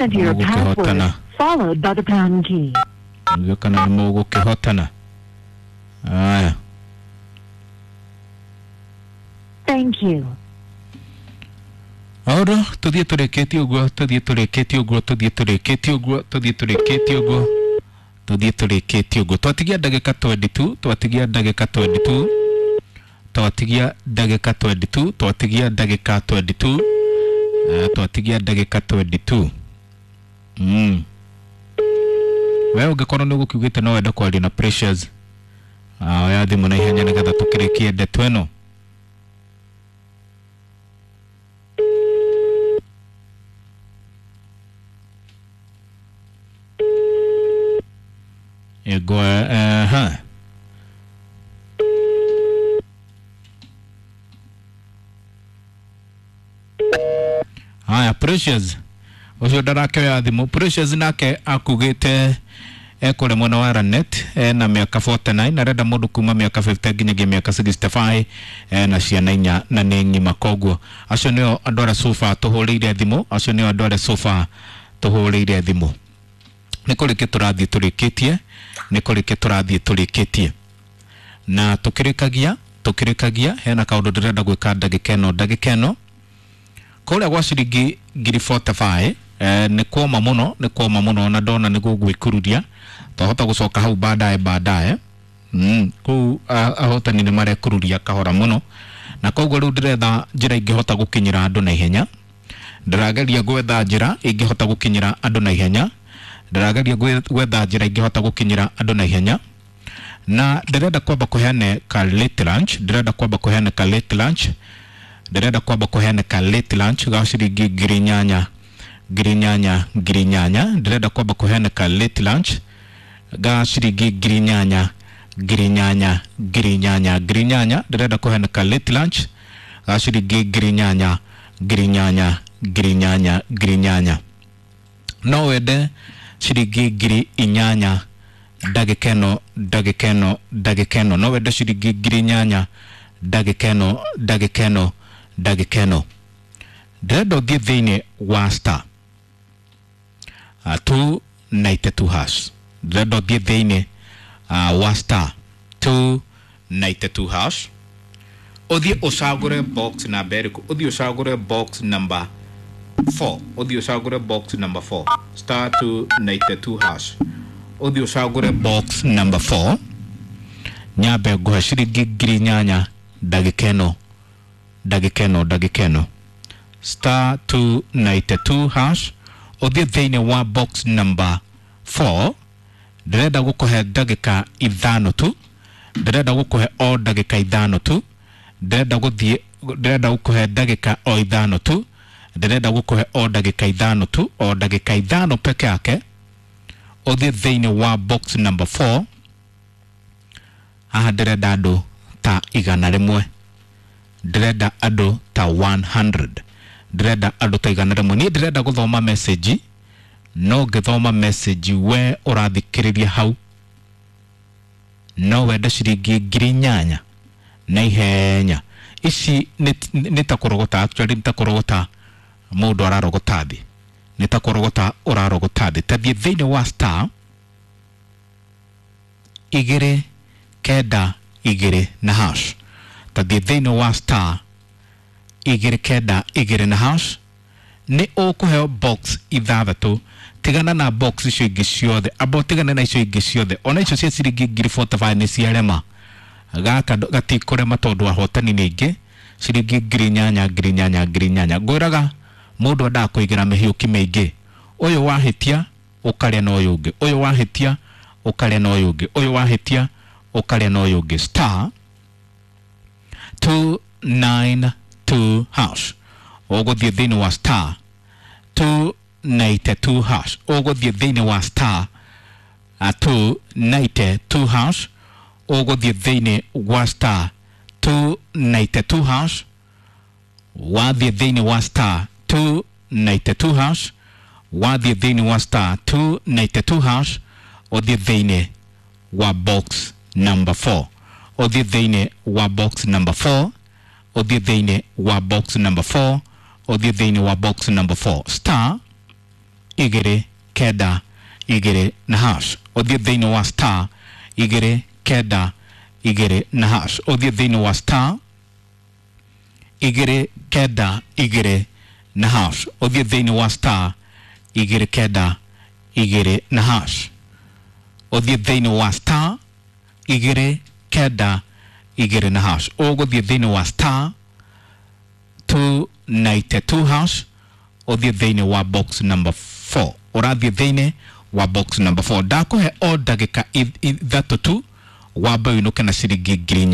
Enter your password followed by the pound key. Nĩguo kana nĩ mũgũkĩhotana. Aya. Thank you. Aũndũ tũthiĩ tũrĩkĩtie ũguo, tũthiĩ tũrĩkĩtie ũguo, tũthiĩ tũrĩkĩtie ũguo, tũthiĩ tũrĩkĩtie ũguo, tũthiĩ tũrĩkĩtie ũguo. Twatigia ndagĩka 22, twatigia ndagĩka 22, twatigia ndagĩka 22, twatigia ndagĩka 22, twatigia ndagĩka 22. We ũngĩkorwo nĩ ũgũkiugĩte no wende kwaria na Precious, oya thimũ na ihenya nĩgetha tũkĩrĩkie ndeto ĩno. Ego, ha. Haya, Precious ũcio ndarakĩoya thimũ. Precious nake akugĩte ekũrĩ mwena wa Lanet, ena mĩaka 49, arenda mũndũ kuma mĩaka 50 nginyagia mĩaka 65, ena ciana inya na nĩ ng'ima. Koguo acio nĩo andũ arĩa sofa tũhũrĩire thimũ, acio nĩo andũ arĩa sofa tũhũrĩire thimũ. Nĩ kũrĩkia tũrathiĩ tũrĩkĩtie, nĩ kũrĩkia tũrathiĩ tũrĩkĩtie na tũkĩrĩkagia, tũkĩrĩkagia. Hena kaũndũ ndĩrenda gwĩka ndagĩka ĩno, ndagĩka ĩno kũrĩa gwa ciringi ngiri 45, nĩ kuoma mũno, nĩ kuoma mũno, na ndona nĩ gũgwĩkururia twahota gũcoka hau baadaye baadaye. Kũu ahotani nĩ marekururia kahora mũno, na koguo rĩu ndĩretha njĩra ingĩhota gũkinyĩra andũ na ihenya. Ndĩrageria gwetha njĩra ingĩhota gũkinyĩra andũ na ihenya, ndĩrageria gwetha njĩra ingĩhota gũkinyĩra andũ na ihenya, na ndĩrenda kwamba kũheane ka late lunch, ndĩrenda kwamba kũheane ka late lunch, ndĩrenda kwamba kũheana ka late lunch ga ciringi 8,000, 8,000, 8,000. Ndĩrenda kwamba kũheana ka late lunch ga ciringi 8,000, 8,000, 8,000, 8,000. Ndĩrenda kũheana ka late lunch ga ciringi 8,000, 8,000, 8,000, 8,000. No wende ciringi 8,000 ndagĩka ĩno, ndagĩka ĩno, ndagĩka ĩno. No wende ciringi 8,000 ndagĩka ĩno, ndagĩka ĩno, ndagĩka ĩno. Ndĩrenda ũthiĩ thĩinĩ wa star 292 hash. Ndĩrenda ũthiĩ thĩinĩ wa star 292 hash, ũthiĩ ũcagũre box number ĩrĩkũ? Ũthiĩ ũcagũre box number 4, ũthiĩ ũcagũre box number 4, star 292 hash, ũthiĩ ũcagũre box number 4. Nyambe ngũhe ciringi 8,000 ndagĩka ĩno, ndagĩka ĩno, ndagĩka ĩno. Star 292 hash, ũthiĩ thĩinĩ wa box number 4. Ndĩrenda gũkũhe ndagĩka 5 tu, ndĩrenda gũkũhe o ndagĩka 5 tu, ndĩrenda gũthiĩ, ndĩrenda gũkũhe ndagĩka o 5 tu, ndĩrenda gũkũhe o ndagĩka 5 tu, o ndagĩka 5 peke yake. Ũthiĩ thĩinĩ wa box number 4. Haha ndĩrenda andũ ta 100, ndĩrenda andũ ta 100, ndĩrenda andũ ta 100. Niĩ ndĩrenda gũthoma message, no ngĩthoma message we ũrathikĩrĩria hau no wende ciringi 8,000 na ihenya. Ici nĩ ta kũrogota, actually nĩ ta kũrogota mũndũ ararogota thĩ, nĩ ta kũrogota ũrarogota thĩ. Ta thiĩ thĩinĩ wa star 2 9 2 na hash, ta thiĩ thĩinĩ wa star 2 9 2 na hash, nĩ ũkũheo box 6. Tigana na box icio ingĩ ciothe, amba ũtigane na icio ingĩ ciothe, ona icio cia ciringi ngiri 45 nĩ ciarema. Gaka gatikũrema tondũ ahotani nĩ aingĩ, ciringi 8,000, 8,000, 8,000. Ngwĩraga mũndũ endaga kũigĩra mĩhiũki mĩingĩ, ũyũ wahĩtia ũkarĩa na ũyũ ũngĩ, ũyũ wahĩtia ũkarĩa na ũyũ ũngĩ, ũyũ wahĩtia ũkarĩa na ũyũ ũngĩ. Star 292 hash, ũgũthiĩ thĩinĩ wa star 292 hash, ũgũthiĩ thĩinĩ wa star 292 hash, ũgũthiĩ thĩinĩ wa star 292 hash, wathiĩ thĩinĩ wa star 292 hash, wathiĩ thĩinĩ wa star 292 hash, ũthiĩ thĩinĩ wa box number 4, ũthiĩ thĩinĩ wa box number 4, ũthiĩ thĩinĩ wa box number 4, ũthiĩ thĩinĩ wa box number 4, star 2 9 2 na hash. Ũthiĩ thĩinĩ wa star 2 9 2 na hash. Ũthiĩ thĩinĩ wa star 2 9 2 na hash. Ũthiĩ thĩinĩ wa star 2 9 2 na hash. Ũthiĩ thĩinĩ wa star 2 9 2 na hash. Ũgũthiĩ thĩinĩ wa star 292 hash. Ũthiĩ thĩinĩ wa box number 4. Ũrathiĩ thĩinĩ wa box number 4. Ndakũhe o ndagĩka 3 tu wambe ũinũke na ciringi 4,000.